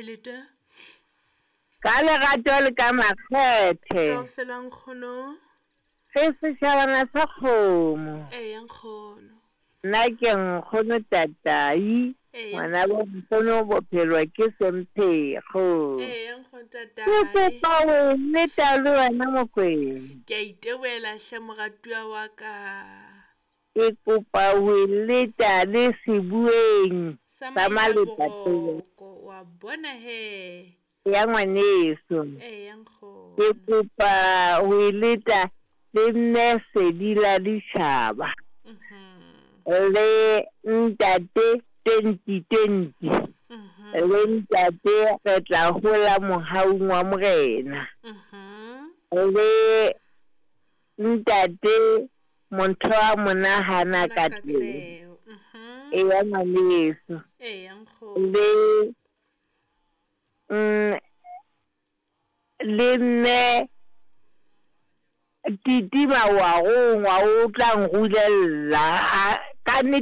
Leta. Ka lerato le ka makgethe. Kaofela nkgono. Re setjhabana sa kgomo. Eya nkgono. Nna ke nkgono Tatai. Eya. Ngwana bo nkgono bophelo ke semphekgo. Eya nkgono Ke Tatai. kopa o nneta le wena Mokwena. Ke a itebohela hle moratuwa wa ka. Ke kopa ho leta le sebueng Sa sa Maleta pele. Mailaboroko wa bona he. Ya ngwaneso. Eya Ke nkgono. kopa ho leta le mme Sedi la ditjhaba. Le ntate 2020. Le ntate re tla hola mohaung wa Morena. Le ntate motho wa monahana ka teng. Katleho. Eya ngwaneso. Eya nkgono. Le le mme Titima wa gongwa o tla nrulella ka nnete.